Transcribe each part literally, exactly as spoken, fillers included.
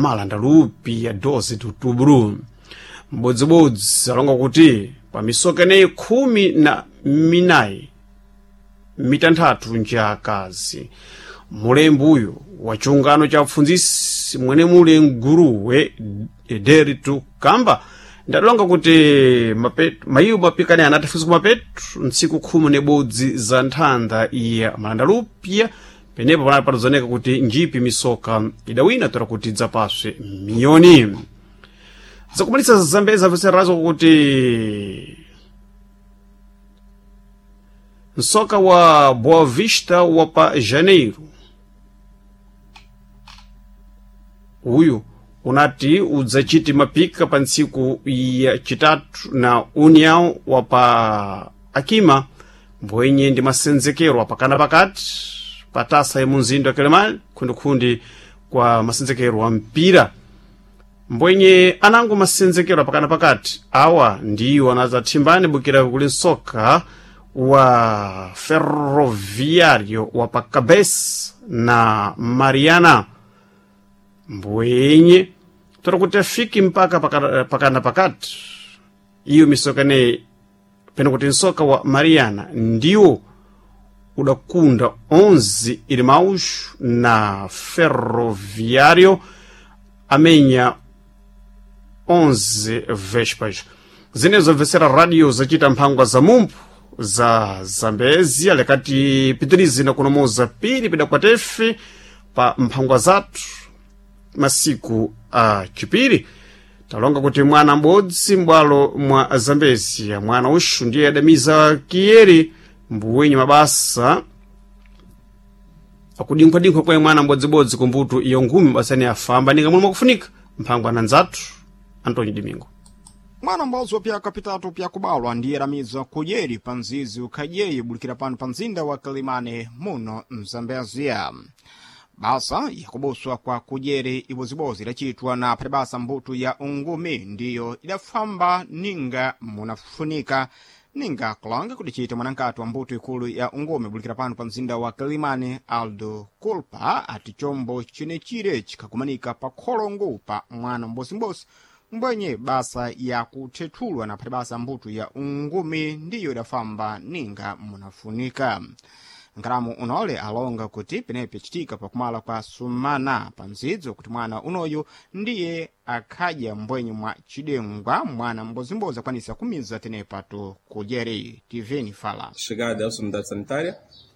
malanda lupi ya doze de outubro. Mbodzibodzi alonga kuti pa misoka ineyi khumi na minayi mitanthatu nja akazi. Mulembi uyu wa chiungano cha apfundzisi mwene mule mguruwe Ederitu Kamba ndadalonga kuti mayiwo mapikani anatafisa kumapetu ntsiku khumi nebodzi za nthanda ya malanda lupya. Penepo panali patozoneka kuti njipi misoka idawina toera kuti idzapaswe miyoni. Zakumalisa zambezi amvetserazo kuti msoka wa Boa Vista wa pa Janeiro uyu unati udzachiti mapika pa ntsiku ya chitatu na União wa pa Akima mbwenye ndi masenzekero apakana pakati pa tasa ya munzinda wa Quelimane khundikhundi kwa masenzekero wa mpira. Mbwenye anango masenzekero apakana pakati awa ndiwo anadzathimbani bukira kuli msoka wa Ferroviário wa pa Cabes na Mariana mbwenye tora kuti afiki mpaka pakana, pakana pakati iyo misoka ineyi pena kuti msoka wa Mariana ndiwo udakunda onze irmãos na Ferroviário amenya onze vespas. Zinezo zamvetsera radio zacita mphangwa za mumphu za Zambezia lekati pitirizi na kunomoza piri pidakwatefe pa mphangwa zathu masiku a chipiri. Talonga kuti mwana m'bodzi m'bwalo mwa Zambezia mwana uxu ndiye adamiza kiyeri mbuwenye mabasa akudinkhwadinkhwa kwa mwana m'bodzibodzi kumbuto iyo ngumi basani afamba ninga momwe akufunika mphangwa na nzathu Antonio Domingo. Mwana m'bodzi wa pyaka pitatu pyakubalwa ndiye adamizwa kudyeri pa mzizi ukhadyeye bulikira pano pa mzinda wa Quelimane muno mzambezia. Basa yakubuswa kwa kudyeri ibozibodzi idacitwa na aphati mbuto ya ungumi ndiyo idafamba ninga munafunika ninga kulanga kudicita mwanankati wa mbuto ikulu ya ungumi bulikira pano pa mzinda wa Quelimane Aldo Culpa ati chombo cinecire cikhakumanika pa kholongo pa mwana m'bosimbosi mbwenye basa yakuthethulwa na aphati mbuto ya ungumi ndiyo idafamba ninga munafunika. Nkalamu unole alonga kuti penepo yacitika pakumala kwa sumana pa mzidzo kuti mwana unoyu ndiye akhadya mbwenye mwa cidengwa mwana m'bodzimbozi akwanisa kumiza tenepatu kudyeri. T V fala Chegada à unidade sanitária,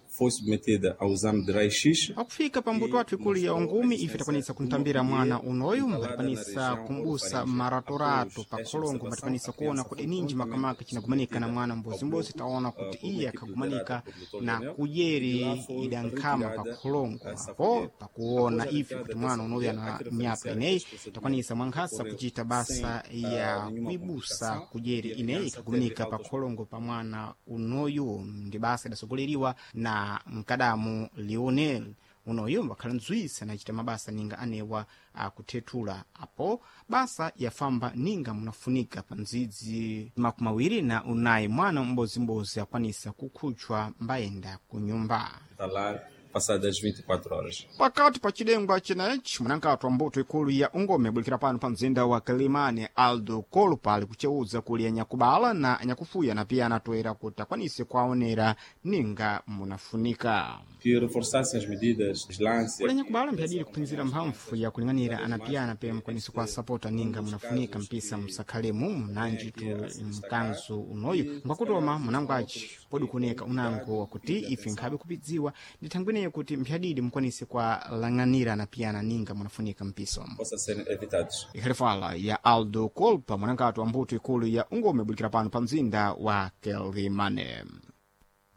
foi submetida ao exame de raio-x. Pakufika pa mbuto wathu ikulu ya ungumi ife takwanisa kuntambira mwana unoyu mbatikwanisa kumbusa maratorato pa kholongo mbatikwanisa kuona kuti ninji makamaka cinagumanika na mwana mbozimbozi. Taona kuti iye akhagumanika na kudyeri idankhama pa kholongo apo pakuona ife kuti mwana unoyu ana myaka ineyi takwanisa mwankhasa kucita basa ya kuibusa kudyeri ineyi ikhagumanika pa kholongo pa mwana unoyu ndi basa idasogoleriwa na mkadamu Lionel unoyo wakhala nzwisa anachita mabasa ninga anewa akuthethula apo basa yafamba ninga munafunika pa mdzidzi makumi awiri na unayi mwana m'bodzimbozi akwanisa kukhutchwa mbayenda ku nyumba Hospitalar passadas vinte e quatro horas. Pakati pa cidengwa cinechi mwanankati wa mbuto ikulu ya ungome bulikira pano pa mzinda wa Quelimane Aldo Kolpa ali kucewuza kuli anyakubala na anyakufuya na pia anatoera kuti akwanise kuaonera ninga munafunika. Que reforçassem as medidas de vigilância. Kuli anyakubala mphadiri kuphinzira mphamvu ya kuling'anira anapiyana pe mukwanise kuwasapota ninga munafunika mpisa musakhalemu munanji tu mkanzu unoyu ngwakutoma munangwaci podi kuoneka unango wakuti ife nkhabe kupidziwa ndi thangweneyo kuti mphadidi mukwanise kuwalang'anira anapiyana ninga munafunika mpiso Possa ser evitados. Ikhalifala ya Aldo Kolpa mwanankati wa mbuto ikulu ya ungome bulikira pano pa mzinda wa Quelimane.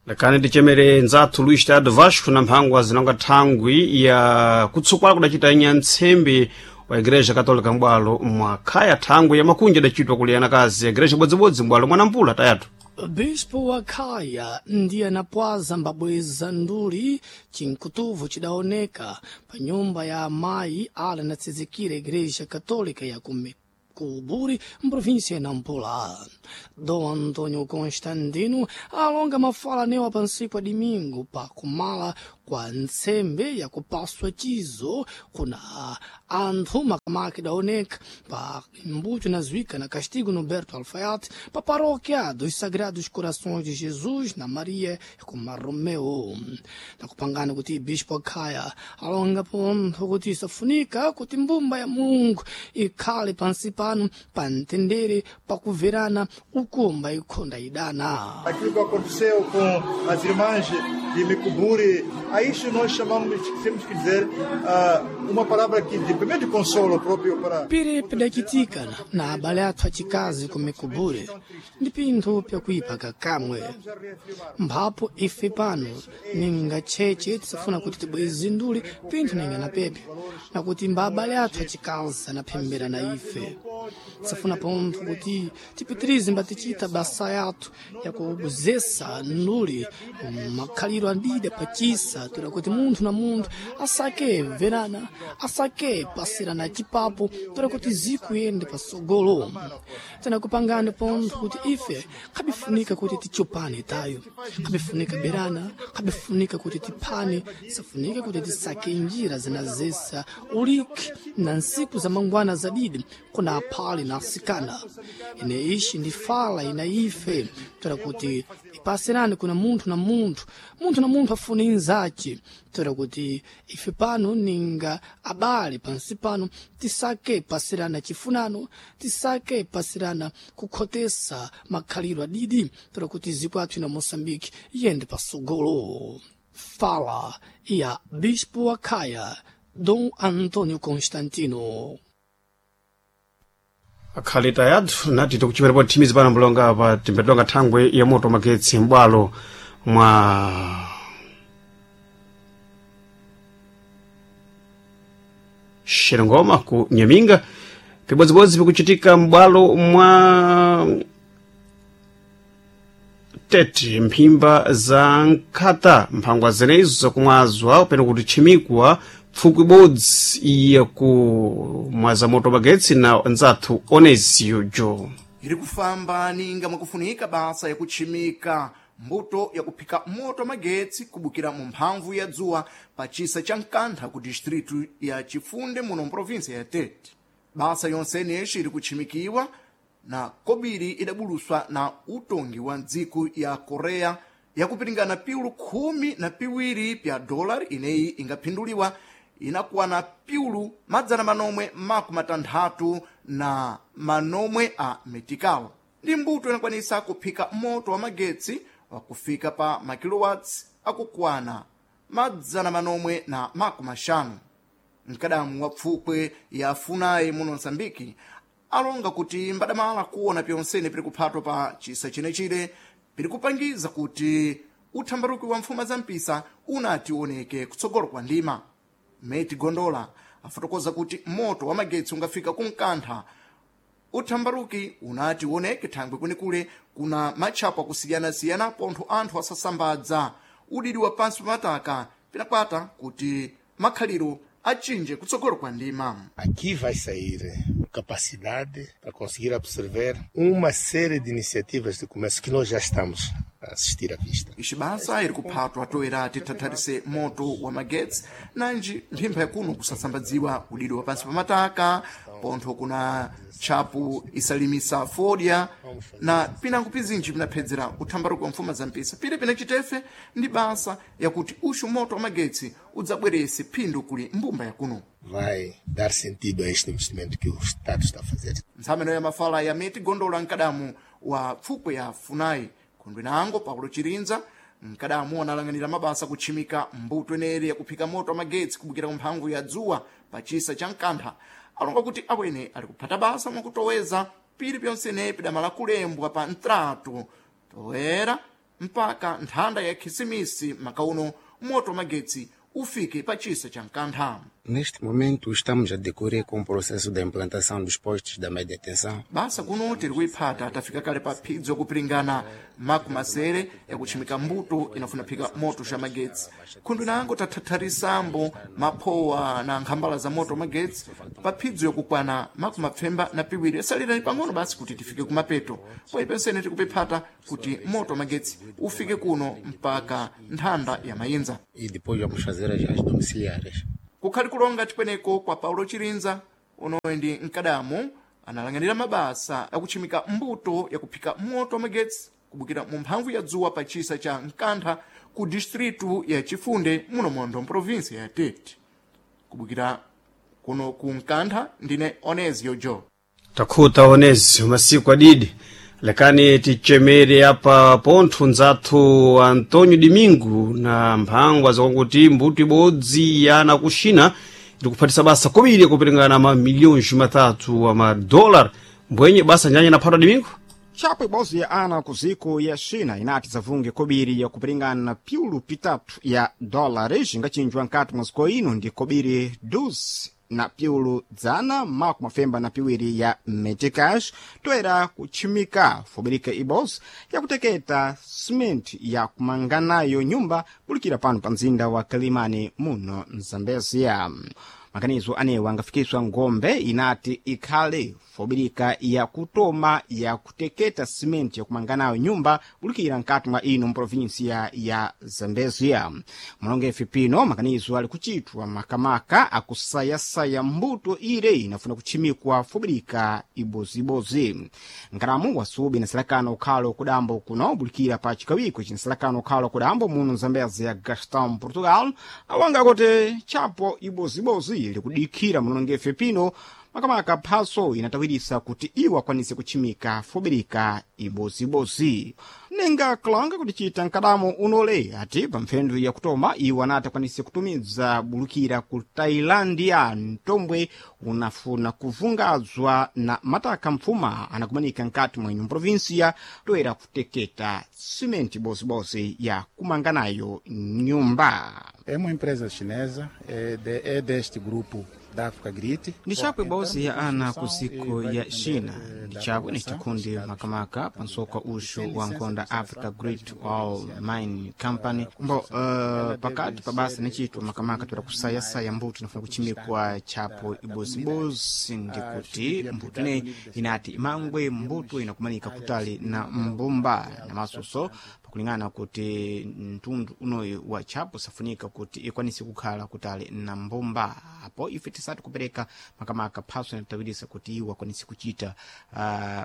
Lakani tichemere nzathu Luís Tado Vasco na mphangwa zinonga thangwi ya kutsukwala kudacita nyantsembe wa Igreja Católica m'bwalo mwa khaya thangwi ya makunja idacitwa kuli anakazi ya Igreja bodzibodzi m'bwalo mwa Nampula tayatu. Bispo wa Khaya ndiye anapwaza mbabweza nduli cinkutuvu cidaoneka pa nyumba ya amayi ala anatsizikira Igreja Católica ya kume Kuburi, província ya Nampula. Dom Antônio Constantino alonga mafala newa pansiku ya domingo pa kumala kwa kwa ntsembe yakupaswa chizo kuna anthu makamaka idaoneka pa mbuto inazuika na Castigo Norberto Alfaiate pa paróquia dos Sagrados Corações de Jesus na Maria kuma Romeo. Nakupangana kuti Bispo Akhaya alonga pontho kuti isafunika kuti mbumba ya Mulungu ikhale pansi pano pamtendere pakuverana ukumba ikhonda idana. Aquilo que aconteceu com as irmãs de Mecuburi, a isso nós chamamos, temos que dizer, uh, uma palavra que de, primeiro de consolo próprio para... Pire pidachitika na abale athu achikazi ku Mecuburi ndi pinthu pyakuipa kakamwe. Mphapo ife pano ninga tcheche tisafuna kuti tibwezindule pinthu ninga na pepe nakuti mba abale athu achikazi anaphembera na ife. Tisafuna pontho kuti tipitirize mbatichita basa yathu yakubuzesa nduli makhaliro adida pachisa toera kuti munthu na munthu asake verana, asake pasirana chipapo toera kuti zikuyende pasogolo. Tinakupangani pontho kuti ife khabifunika kuti tichopane tayo, khabifunika berana, khabifunika kuti tiphane, safunika kuti tisake njira zinazesa uliki na nsiku za mangwana zadidi kuna aphale na asikana. Ine ishi ndi fala ina ife toera kuti ipasirane kuna munthu na munthu, munthu na munthu afune inzace toera kuti ife pano ninga abale pansi pano tisake pasirana chifunano, tisake pasirana kukhotesa makhaliro adidi toera kuti ziko athu ina Moçambique iyende pasogolo. Fala ya Bispo Akhaya Dom Antônio Constantino. Akhalita yathu nati tikuchiperepo thimizi pano mbulonga pa timbetonga thangwe ya moto magetsi m'bwalo mwa Xerengoma ku Nyaminga, pibodzibodzi pikuchitika m'bwalo mwa Tete mphimba za nkhata mphangwa zenezo zakumwazwa peno kuti tchimikwa pfukwi ibodzi yakumwaza moto magetsi na nzathu Onesio Jo. Iri kufamba ninga mwakufunika basa yakutchimika mbuto yakuphika moto magetsi kubukira mu mphamvu ya dzuwa pa chisa cha Nkantha ku distritu ya Chifunde muno mprovinsia ya Tete. Basa yonseneshi iri kutchimikiwa na kobiri idabuluswa na utongi wa ndziko ya Korea yakupiringana piulu khumi na piwiri pya dolari ineyi ingaphinduliwa inakwana piulu madzana manomwe makumi matanthatu na manomwe a metikalo. Ndi mbuto inakwanisa kuphika moto wa magetsi wakufika pa makilowatts akukwana madzana manomwe na makumi maxanu. Mkadamu wa pfukwe ya Funai muno Msambiki alonga kuti mbadamala kuona pyonsene piri kuphatwa pa chisa chenechire piri kupangiza kuti uthambaruki wa mfuma za mpisa unati uoneke kutsogolo kwa ndima. Meti Gondola afotokoza kuti moto wa magetsi ungafika kunkantha uthambaruki unati uoneke thangwe kwenikule kuna matchapo akusiyana-siyana pontho anthu asasambadza udidi wa pansi pamataka pinakwata kuti makhaliro achinje kutsogolo kwa ndima. Aqui vai sair capacidade para conseguir absorver uma série de iniciativas de comércio que nós já estamos a assistir à vista. Ixi basa iri kuphatwa toera tithatharise moto wa magetsi nanji mphempha yakuno kusasambadziwa udidi wa pansi pamataka pontho kuna tchapu isalimisa fodya na pinango pizinji pinaphedzera uthambaruki wa mfuma za mpisa pile pinachitefe ndi basa yakuti uxu moto wa magetsi udzabwerese phindu kuli mbumba yakuno. Vai dar sentido a este investimento que o Estado está a fazer. Nthameno ya mafala ya meti gondola mkadamu wa pfukwe ya Funai khundwe nango Paulo Chirinza mkadamu analang'anira mabasa kutchimika mbuto eneri yakuphika moto wa magetsi kubukira ku mphamvu ya dzuwa pa chisa cha Nkantha alonga kuti awene ali kuphata basa mwakutoweza pili pyonsenepi pidamala kulembwa pa ntratu toera mpaka nthanda ya Khisimisi makauno moto wa magetsi ufike pa chisa cha Nkantha. Neste momento estamos a decorrer com o processo da implantação dos postos da média tensão. Basa kuno tiri kuiphata tafika kale pa phidzo kupiringana maku masere yakutchimika mbuto inafuna phika moto xa magetsi. Khundu inango tathatharisambo maphowa na nkhambala za moto magetsi pa phidzo yakukwana maku mapfemba na piwiri yasalirani pang'ono basi kuti tifike kumapeto. Poyi pensene tikupiphata kuti moto magetsi ufike kuno mpaka nthanda ya Mayinza. E depois vamos fazer as, as domiciliárias. Kukhali kulonga chikweneko kwa Paulo Chirinza unowe ndi mkadamu analang'anira mabasa akutchimika mbuto yakuphika moto magetsi kubukira mu mphamvu ya dzuwa pa chisa cha Nkantha ku distritu ya Chifunde muno mondo mprovinsi ya Tete. Kubukira kuno ku Nkantha ndine Onezio Jo. Takhuta Onezio masiku adidi. Lekani tichemere apa pontho nzathu Antonio Domingo na mphangwa zakuti mbuto ibodzi yana kuxina ikuphatisa basa kobiri kuperingana ma milhões matatu a madólar. Mbwenye basa njanye naphatwa Domingo? Chapo ibodzi ya ana ku ziko ya China inati zavunge kobiri yakupiringana piulu pitatu ya dólares ingachinjwa nkati mwa ziko ino ndi kobiri doze na piulu dzana maku mafemba na piwiri ya meticas toera kutchimika fobirika ibodzi yakuteketa simenti ya kumanganayo nyumba bulikira pano pa mzinda wa Kalimani muno Mzambezia. Makanizo anewa angafikiswa ngombe inati ikhale fobirika yakutoma yakuteketa simenti yakumanganayo nyumba bulikira nkati mwa ino mprovinsia ya Zambezia. Mulongefe pino makanizo ali kuchitwa makamaka akusayasaya mbuto ire inafuna kutchimikwa fobirika ibozibozi. Nkalamu wasubi na silakano ukhalo kudambo kuno bulikira pa chikawiko chinsilakano ukhalo kudambo muno Zambezia Gaston Portugal awanga kuti chapo ibozibozi likudikhira mulongefe pino makamaka phaso inatawirisa kuti iwo akwanise kutchimika fobirika ibozibozi. Ninga kulanga kuti chita mkadamo unole ati pa mphendu yakutoma iwo anati akwanise kutumiza bulukira ku Tailandia mtombwe unafuna kuvungazwa na mataka mfuma anakumanika nkati mwa ino provinsia toera kuteketa simenti bozibozi ya kumanganayo nyumba. É uma empresa chinesa, é, de, é deste grupo da África Grit. Ndi chapwe ibodzi ya ana ku ziko ya China ndi chapwe ni chikundi makamaka pa nsoka uxu wa nkhonda Africa Great Wall Mine Company. Mbo uh, pakati pa basa nicitwa makamaka toera kusayasaya mbuto inafuna kuchimikwa chapo ibozibozi ndi kuti mbuto ineyi inati imangwe mbuto inakumanika kutali na mbumba na masoso pakulingana kuti mtundu unoyu wa chapo safunika kuti ikwanise kukhala kutali na mbumba. Apo ife tisati kupereka makamaka phaso inatawirisa kuti iwo akwanise kuchita uh,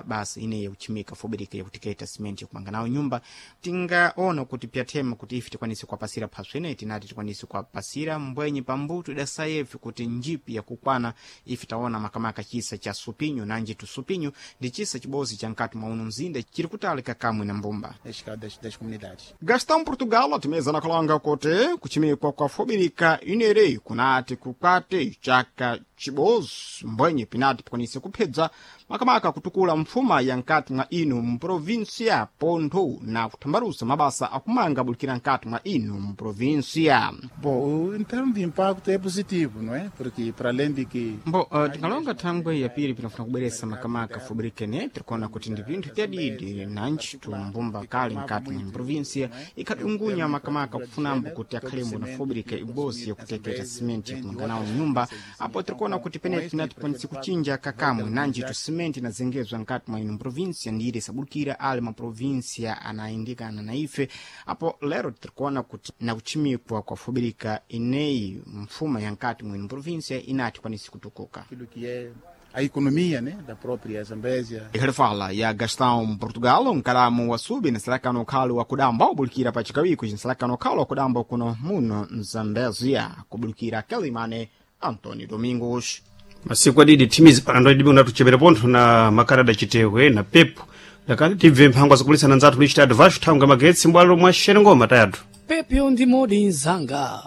basa ineyi yakuchimika fobereka yakutiketa simenti yakumanga nawo nyumba. Tingaona kuti pyathema kuti ife tikwanise kuwapasira phaso ineyi tinati tikwanise kuwapasira mbwenye pambuto idasayefe kuti njipi yakukwana. Ife taona makamaka chisa cha supinyo nanji tusupinyo ndi chisa chibodzi cha nkati mwa uno mzinda chiri kutalika kamwe na mbumba. Das, das comunidades. Gastão Portugal atimeza nakulanga kuti kuchimikwa kwa fobirika inere kunati kukwate chaka chibodzi mbwenye pinati pikwanise kuphedza makamaka kutukula mfuma ya nkati mwa ino mprovinsia pontho na kuthambalusa mabasa akumanga bulikira nkati mwa ino mprovinsia. Bom, em termos de impacto é positivo, não é? Porque para além de que Mbo uh, tingalonga thangwe yapiri pinafuna kubweresa makamaka fobirika ine tirikuona kuti ndi pinthu pyadidi nanji tumbumba kale nkati mwa mprovinsia ikhadungunya makamaka kufunambo kuti akhalembo na fobirika ibodzi yakuteketa simenti yakumanga nawo nyumba. Apo tirikuona kuti pene tinati tikwanise kuchinja kakamwe nanji tu simenti inazengezwa nkati mwa ino provinsia ndire sabulukira ali maprovinsia anayindikana na ife. Apo lero tirikuona kuti na kuchimikwa kwa fobirika ineyi mfuma ya nkati mwa ino provinsia inati kwanise kutukuka. Aquilo que é a economia, né, da própria Zambésia. Ikhalifala ya Gastão Portugal nkalamu wa subi na nsalakano ukhalo wa kudamba ubulikira pa chikawiko cinsalakano ukhalo wa kudamba kuno muno Mzambezia kubulikira Quelimane Antonio Domingos. Masiku adidi thimizi panando adibi unatuchepera pontho na makarada chitehwe na pepo. Lakani tibve mphangwa zakulisana nzathu lichitatu vashu thanga magetsi mbwalo mwa xerengoma tayathu. Pepyo ndi modi nzanga.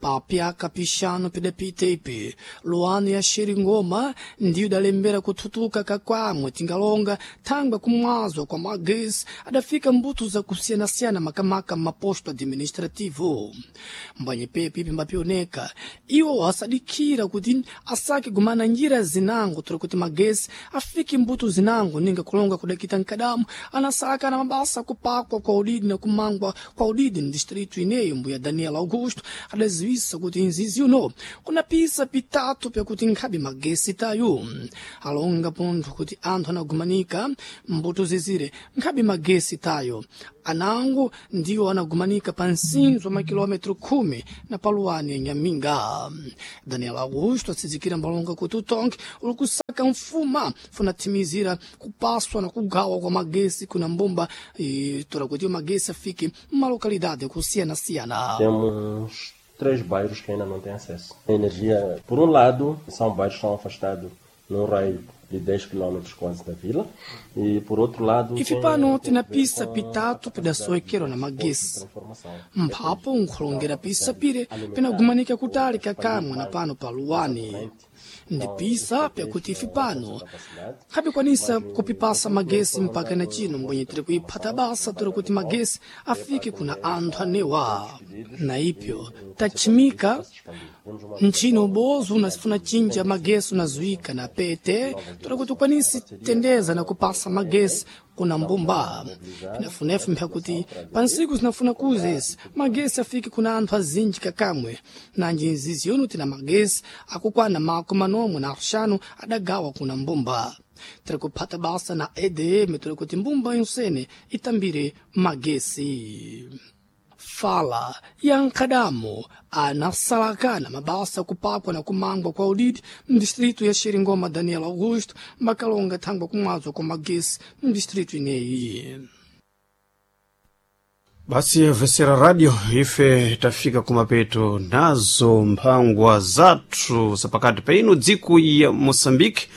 Papyaka pixanu pidapita ipi luano ya xeringoma ndiyo idalembera kuthutuka kakwamwe tingalonga thangwe kumwazwa kwa magesi adafika mbuto zakusiyanasiyana makamaka m'maposto administrativo. Mbwanyi pepi ipi mbapioneka iwo asadikira kuti asake gumana njira zinango tori kuti magesi afike mbuto zinango ninga kulonga kudakita nkadamu anasaka na mabasa kupakwa kwa udidi na kumangwa kwa udidi no distrito ineyo. Mbuya Daniel Augusto adaziwisa kuti nzizi uno kuna pisa pitatu pyakuti nkhabe magesi tayo alonga pontho kuti anthu anagumanika mbuto zizire nkhabe magesi tayo anango ndiwo anagumanika pa nsinzo wa makilometro khumi na paluwani ya Nyaminga. Daniel Augusto atsizikira mbalonga kuti utonke uli kusaka mfuma funatthimizira kupaswa na kugawa kwa magesi kuna mbumba e, tora kuti magesi afike mmalocalidade kusiyanasiyana. Temos três bairros que ainda não têm acesso. A energia, por um lado, são bairros que estão afastados num raio de dez quilômetros quase da vila, e por outro lado. Ife pano tina pisa pitatu pidasoekera na magesi mphapo nkhulongera pisa pire pinagumanika kutali kakamwe na pano pa luwani ndi pisa pyakuti ife pano khabikwanisa kupipasa magesi mpaka na chino mbwenye tiri kuiphata basa tiri kuti magesi afike kuna anthu anewa na ipyo tachimika ntchino ubozo unasifuna chinja magesi unazuika na pete tora kuti ukwanisi tendeza na kupasa magesi kuna mbumba. Pinafunefu mpya kuti pansiku zinafuna kuzesi magesi afike kuna anthu azinji kakamwe nanji nzizi yono tina magesi akukwana mako manomwe na axanu adagawa kuna mbumba. Tiri kuphata basa na E D M tori kuti mbumba yonsene itambire magesi. Fala ya nkhadamo anasalakana mabasa kupakwa na kumangwa kwa udidi mdistrito ya Xeringoma. Daniel Augusto makalonga thangwa kumwazwa kwa magesi mdistrito ineyi. Basi vesera radio ife tafika kumapeto nazo mphangwa zathu zapakati pa ino dziko ya Moçambique.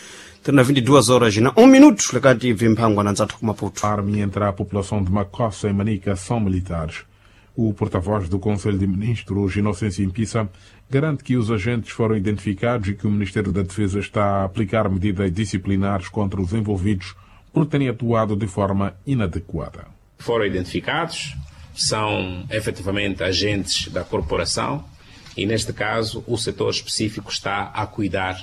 Tena vinte e duas horas na um minuto lekati ibve mphangwa na nzathu kumaputo. Arme entre a população de Macossa e Manica são militares. O porta-voz do Conselho de Ministros, Inocêncio Impissa, garante que os agentes foram identificados e que o Ministério da Defesa está a aplicar medidas disciplinares contra os envolvidos por terem atuado de forma inadequada. Foram identificados, são efetivamente agentes da corporação e, neste caso, o setor específico está a cuidar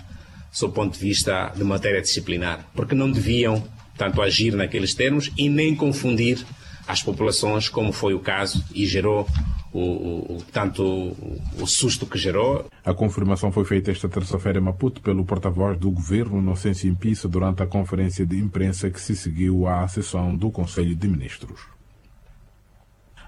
sob o ponto de vista de matéria disciplinar, porque não deviam, tanto, agir naqueles termos e nem confundir as populações, como foi o caso, e gerou o, o, tanto o, o susto que gerou. A confirmação foi feita esta terça-feira em Maputo pelo porta-voz do governo, Inocêncio Impissa, durante a conferência de imprensa que se seguiu à sessão do Conselho de Ministros.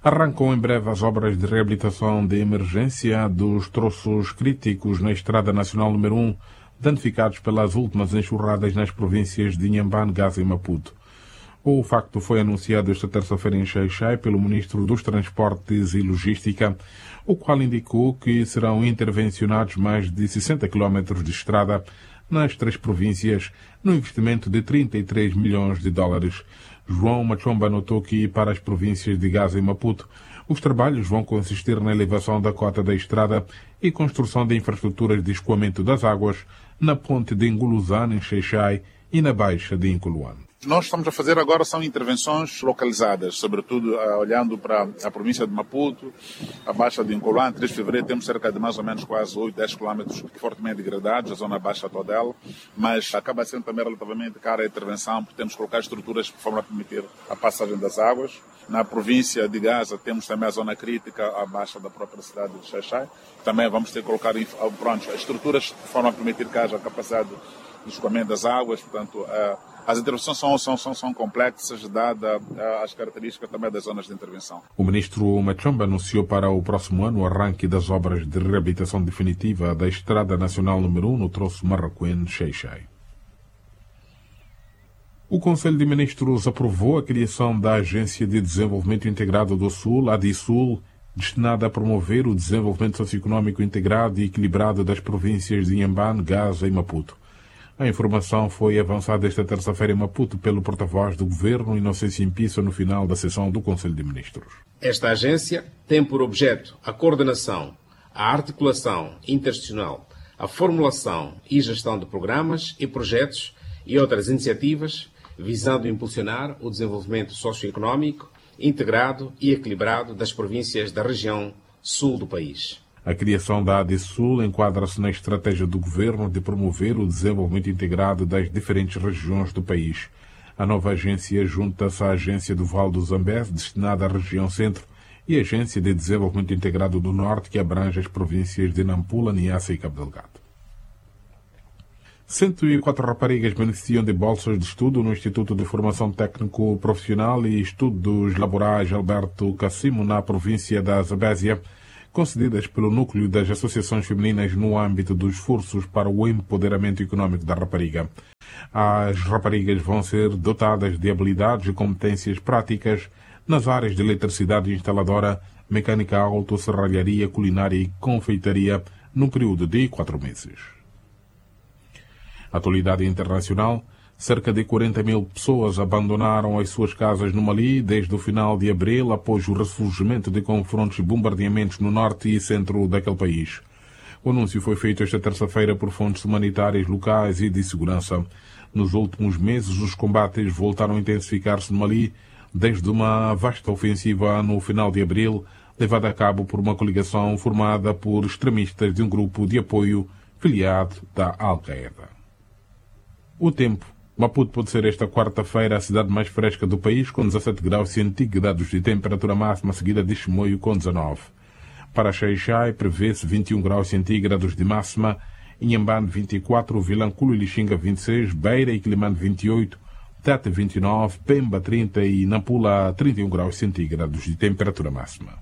Arrancam em breve as obras de reabilitação de emergência dos troços críticos na Estrada Nacional número um, danificados pelas últimas enxurradas nas províncias de Inhambane, Gaza e Maputo. O facto foi anunciado esta terça-feira em Xai-Xai pelo ministro dos Transportes e Logística, o qual indicou que serão intervencionados mais de sessenta quilómetros de estrada nas três províncias, no investimento de trinta e três milhões de dólares. João Machomba notou que para as províncias de Gaza e Maputo, os trabalhos vão consistir na elevação da cota da estrada e construção de infraestruturas de escoamento das águas na ponte de Nguluzane, em Xai-Xai, e na Baixa de Incoluane. Nós estamos a fazer agora são intervenções localizadas, sobretudo olhando para a província de Maputo, a Baixa de Incoluane. três de fevereiro temos cerca de mais ou menos quase oito, dez quilômetros fortemente degradados, a zona baixa toda ela, mas acaba sendo também relativamente cara a intervenção, porque temos que colocar estruturas de forma a permitir a passagem das águas. Na província de Gaza temos também a zona crítica, a baixa da própria cidade de Xai-Xai. Também vamos ter que colocar pronto, estruturas de forma a permitir que haja capacidade de escoamento das águas, portanto, as intervenções são, são, são, são complexas, dada as características também das zonas de intervenção. O ministro Machomba anunciou para o próximo ano o arranque das obras de reabilitação definitiva da Estrada Nacional número um no troço Marracuene-Xai-Xai. O Conselho de Ministros aprovou a criação da Agência de Desenvolvimento Integrado do Sul, a ADISUL, destinada a promover o desenvolvimento socioeconômico integrado e equilibrado das províncias de Inhambane, Gaza e Maputo. A informação foi avançada esta terça-feira em Maputo pelo porta-voz do governo, Inocêncio Impissa, no final da sessão do Conselho de Ministros. Esta agência tem por objeto a coordenação, a articulação interinstitucional, a formulação e gestão de programas e projetos e outras iniciativas visando impulsionar o desenvolvimento socioeconômico integrado e equilibrado das províncias da região sul do país. A criação da ADSUL enquadra-se na estratégia do governo de promover o desenvolvimento integrado das diferentes regiões do país. A nova agência junta-se à Agência do Vale do Zambeze, destinada à região centro, e à Agência de Desenvolvimento Integrado do Norte, que abrange as províncias de Nampula, Niassa e Cabo Delgado. cento e quatro raparigas beneficiam de bolsas de estudo no Instituto de Formação Técnico Profissional e Estudos Laborais Alberto Cassimo, na província da Zambésia, concedidas pelo Núcleo das Associações Femininas no âmbito dos esforços para o empoderamento econômico da rapariga. As raparigas vão ser dotadas de habilidades e competências práticas nas áreas de eletricidade instaladora, mecânica auto, serralharia, culinária e confeitaria num período de quatro meses. Atualidade internacional. Cerca de quarenta mil pessoas abandonaram as suas casas no Mali desde o final de abril, após o ressurgimento de confrontos e bombardeamentos no norte e centro daquele país. O anúncio foi feito esta terça-feira por fontes humanitárias locais e de segurança. Nos últimos meses, os combates voltaram a intensificar-se no Mali, desde uma vasta ofensiva no final de abril, levada a cabo por uma coligação formada por extremistas de um grupo de apoio filiado da Al-Qaeda. O tempo. Maputo pode ser esta quarta-feira a cidade mais fresca do país, com dezassete graus centígrados de temperatura máxima, seguida de Chimoio, com dezanove. Para Xaixai, prevê-se vinte e um graus centígrados de máxima, Inhambane vinte e quatro, Vilanculo e Lixinga vinte e seis, Beira e Quelimane vinte e oito, Tete vinte e nove, Pemba trinta e Nampula trinta e um graus centígrados de temperatura máxima.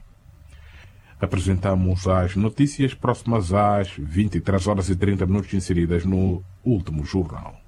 Apresentamos as notícias próximas às vinte e três horas e trinta minutos inseridas no último jornal.